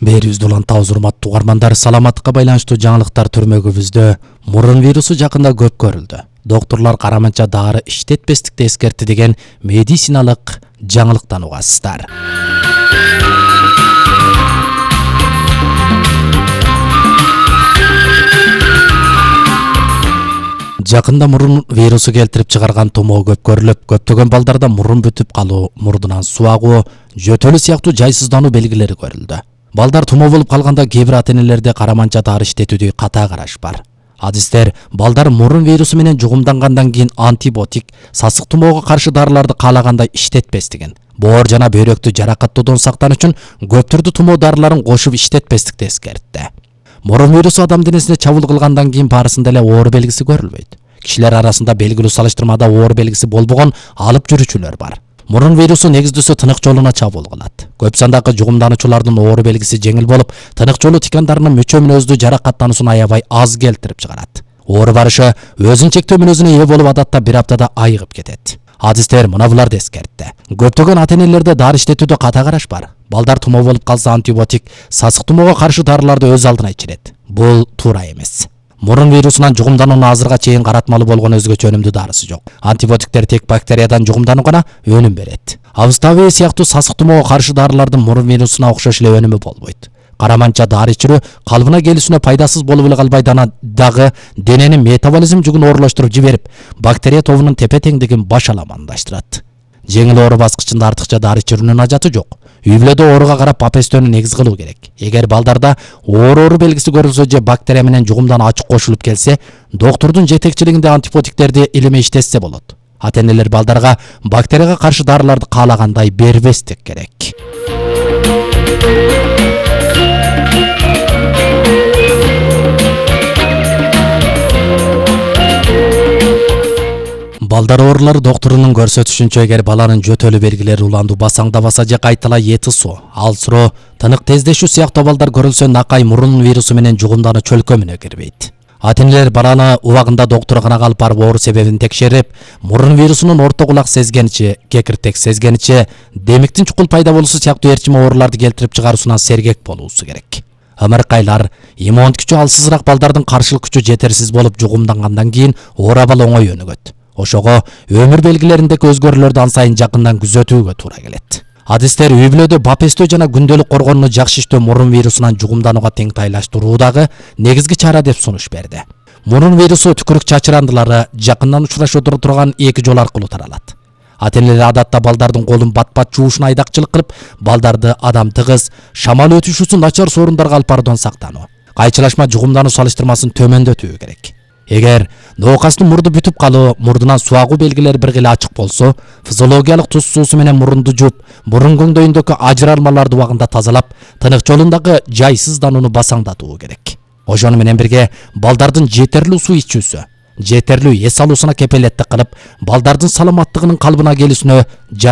Берүүбүздү улантабыз, урматтуу угармандар. Саламаттыкка байланыштуу жаңылыктар түрмөгүбүздө мурун вирусу жакында көп көрүлдү. Доктурлар караманча дары иштетпестикти эскертти деген медициналык жаңылыктан угасыздар. Жакында мурун вирусу келтирип чыгарган тумоо көп көрүлүп, көптөгөн балдарда мурун бүтүп калуу, мурдунан суу агуу, жөтөлүү сыяктуу жайсыздануу белгилери көрүлдү. Балдар тумоо болуп калганда кээ бир ата-энелерде караманча дары иштетүүдө ката караш бар. Адистер балдар мурун вирусу менен жугумдангандан кийин антибиотик, сасык тумоого каршы дарыларды каалагандай иштетпестигин, боор жана бөйрөктү жаракаттоодон сактан үчүн көп түрдүү тумоо дарыларын кошуп иштетпестикти эскертти. Мурун вирусу адам денесине чабуул кылгандан кийин барысында эле оор белгиси көрүлбөйт. Кишилер арасында белгилүү салыштырмада оор белгиси болбогон алып жүрүүчүлөр бар. Мурун вирусу негиздүүсү тынык жолуна чабуул кылат. Көп сандагы жугумдануучулардын оор белгиси жеңил болуп, тынык жолу тикандарынын мөчө мүнөздүү жаракаттануусун аябай аз келтирип чыгарат. Оор барышы өзүн чектөө мүнөзүнө ээ болуп, адатта бир аптада айыгып кетет. Адистер мына буларды эскертти. Көптөгөн ата-энелерде дары иштетүүдө ката караш бар. Балдар тумоо болуп калса антибиотик, сасык тумоого каршы дарыларды өз алдына ичирет. Бул туура эмес. Мурун вирусунан жугумдануунун азырга чейин каратмалуу болгон өзгөчө өнүмдүү дарысы жок. Антибиотиктер тек бактериядан жугумдануу гана өнүм берет. Авставия сыяктуу сасык тумоого каршы дарылардын мурун вирусуна окшош эле өнүмү болбойт. Караманча дары ичирүү калыбына келүүсүнө пайдасыз болуп эле калбай, дагы дененин метаболизм жүгүн оорлоштуруп жиберип, бактерия тобунун тепе-теңдигин башаламандаштырат. Жеңил оору баскычында артыкча дары ичирүүнүн ажаты жок. Үй бүлөдө ооруга карап папестөөнү негиз кылуу керек. Эгер балдарда оору белгиси көрүлсө же бактерия менен жугумдануу ачык кошулуп келсе, доктурдун жетекчилигинде антибиотиктерди илемей иштетсе болот. Ата-энелер балдарга бактерияга каршы дарыларды каалагандай бербестик керек. Балдар оорулары доктурунун көрсөтүшүнчө, эгер баланын жөтөлүү белгилери уландуу, басаңдабаса же кайталай этисоо, алсыроо, тынык тездешүү сыяктуу абалдар көрүлсө, накай мурун вирусу менен жугумдануу чөлкөмүнө кирбейт. Ата-энелер баланы убагында доктурканага алып барып оору себебин текшерип, мурун вирусунун орто кулак сезгеничи, кекиртек сезгеничи, демиктин чукул пайда болуусу сыяктуу эрчим ооруларды келтирип чыгаруусунан сергек болуусу керек. Ымыркайлар, иммундук күчү алсызыраак балдардын каршылык күчү жетерсиз болуп жугумдангандан кийин оор абал оңой өнүгөт. Ошого өмүр белгилериндеги өзгөрүүлөрдү ан сайын жакындан күзөтүүгө туура келет. Адистер үй бүлөдө бапестөө жана күндөлүк коргонууну жакшы иштөө мурун вирусунан жугумданууга теңтайлаштыруудагы негизги чара деп сунуш берди. Мурун вирусу түкүрүк чачырандылары жакындан учурашып турган эки жол аркылуу таралат. Ата-энелер адатта балдардын колун бат-бат жуушуна айдакчылык кылып, балдарды адам тыгыз, шамал өтүшүүсү начар сорундарга алып баруудан сактануу, кайчылашма жугумдануу салыштырмасын төмөндөтүү керек. Эгер ноокастын мурду бүтүп калуу, мурдунан суу агуу белгилери бир кыйла ачык болсо, физиологиялык туз суусу менен мурунду жууп, мурун көңдөйүндөгү ажыралмаларды убагында тазалап, тынык жолундагы жайсызданууну басаңдатуу керек. Ошону менен бирге балдардын жетерлүү суу ичүүсү, жетерлүү эс алуусуна кепелеттик кылып, балдардын саламаттыгынын калыбына келүүсүнө